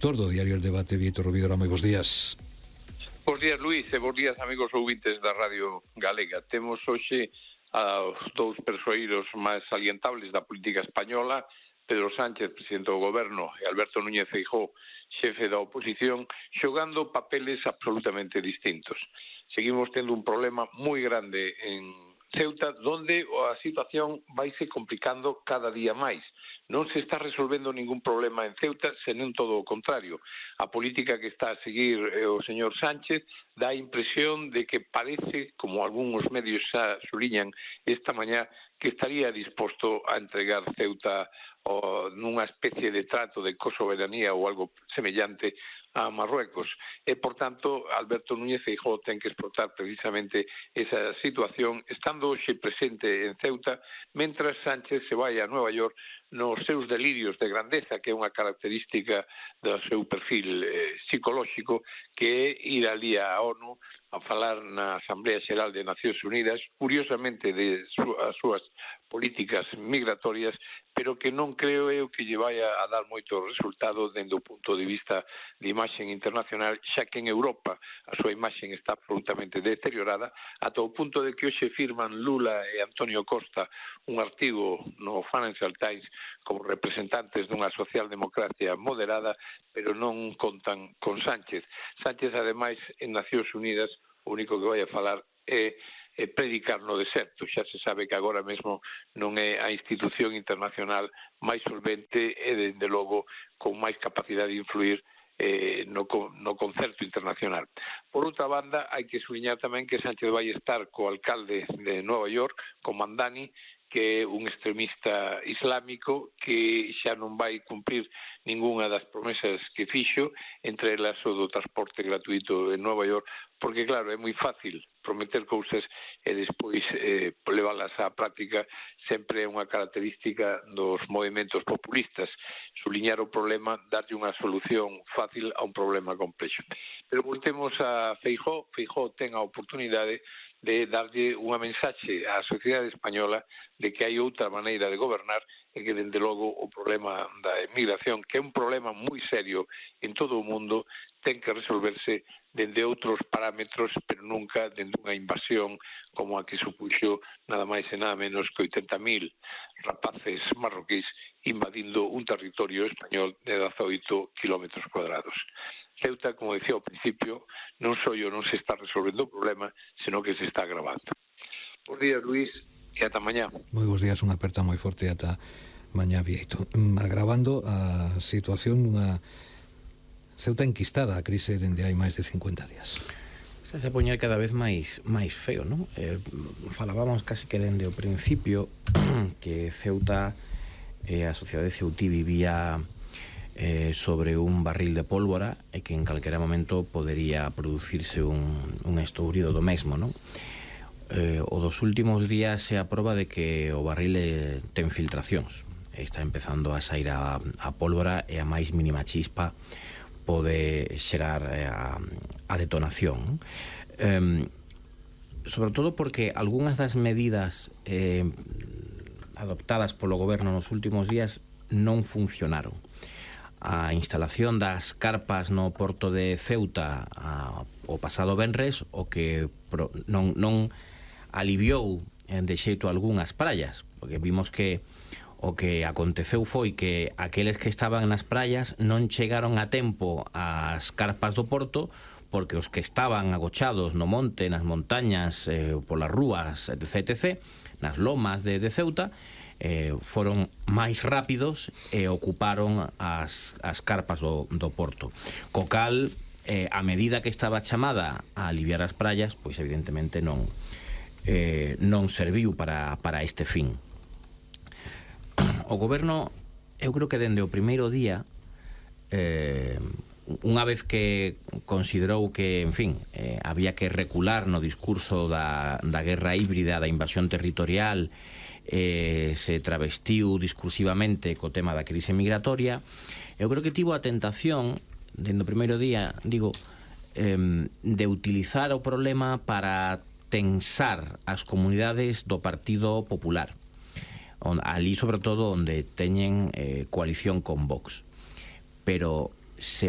Autor do Diario El Debate, Vítor Rubidola, moi bons días. Bos días, Luís, e bos días, amigos ouvintes da Radio Galega. Temos hoxe aos dous persoeiros máis salientables da política española, Pedro Sánchez, presidente do Goberno, e Alberto Núñez Feijóo, xefe da oposición, xogando papeles absolutamente distintos. Seguimos tendo un problema moi grande en Ceuta, donde a situación vaise complicando cada día máis. Non se está resolvendo ningún problema en Ceuta, senón todo o contrario. A política que está a seguir o señor Sánchez dá a impresión de que parece, como algúns medios xa suliñan esta mañá, que estaría disposto a entregar Ceuta nunha especie de trato de cosoberanía ou algo semellante a Marruecos. E, por tanto, Alberto Núñez Feijóo ten que explotar precisamente esa situación, estando hoxe presente en Ceuta, mentras Sánchez se vai a Nueva York nos seus delirios de grandeza, que é unha característica do seu perfil psicolóxico, que é ir ali á ONU a falar na Asamblea Xeral de Nacións Unidas, curiosamente de as súas políticas migratorias, pero que non creo eu que lle vai a dar moito resultado dende o punto de vista de imaxe internacional, xa que en Europa a súa imaxe está absolutamente deteriorada, ata o punto de que hoxe firman Lula e Antonio Costa un artigo no Financial Times como representantes dunha socialdemocracia moderada, pero non contan con Sánchez. Sánchez, ademais, en Nacións Unidas, o único que vai a falar é predicar no deserto. Xa se sabe que agora mesmo non é a institución internacional máis solvente e, dende logo, con máis capacidade de influir no concerto internacional. Por outra banda, hai que subliñar tamén que Sánchez vai estar co alcalde de Nova York, co Mandani, que é un extremista islámico que xa non vai cumprir ningunha das promesas que fixo, entre elas o do transporte gratuito en Nova York, porque, claro, é moi fácil prometer cousas e despois leválas á práctica. Sempre é unha característica dos movimentos populistas, suliñar o problema, darlle unha solución fácil a un problema complexo. Pero voltemos a Feijóo. Feijóo ten a oportunidade de darlle unha mensaxe á sociedade española de que hai outra maneira de gobernar e que, dende logo, o problema da emigración, que é un problema moi serio en todo o mundo, ten que resolverse dende outros parámetros, pero nunca dende unha invasión como a que supuxo nada máis e nada menos que 80.000 rapaces marroquíes invadindo un territorio español de 18 kilómetros cuadrados. Ceuta, como decía ao principio, non só non se está resolvendo o problema, senón que se está agravando. Bos días, Luís, e ata mañá. Moi bons días, unha aperta moi forte ata mañá, Vieito. Agravando a situación nunha Ceuta enquistada a crise dende hai máis de 50 días. Se poñer cada vez máis feo, non? Falábamos casi que dende o principio que Ceuta, a sociedade ceutí vivía sobre un barril de pólvora e que en calquera momento podería producirse un estourido do mesmo, non? O dos últimos días é a proba de que o barril ten filtracións. Está empezando a sair a pólvora e a máis mínima chispa pode xerar a detonación. Sobre todo porque algunhas das medidas adoptadas polo goberno nos últimos días non funcionaron. A instalación das carpas no porto de Ceuta o pasado venres, o que non aliviou de xeito algunhas praias, porque vimos que o que aconteceu foi que aqueles que estaban nas praias non chegaron a tempo ás carpas do porto, porque os que estaban agochados no monte, nas montañas, polas rúas, etc., nas lomas de Ceuta, foron máis rápidos e ocuparon as carpas do porto. Co cal, a medida que estaba chamada a aliviar as praias, pois evidentemente non serviu para este fin. O goberno, eu creo que dende o primeiro día, unha vez que considerou que, en fin, había que recular no discurso da guerra híbrida, da invasión territorial, se travestiu discursivamente co tema da crise migratoria, eu creo que tivo a tentación, dende o primeiro día, digo, de utilizar o problema para tensar as comunidades do Partido Popular, ali sobre todo onde teñen coalición con Vox. Pero se o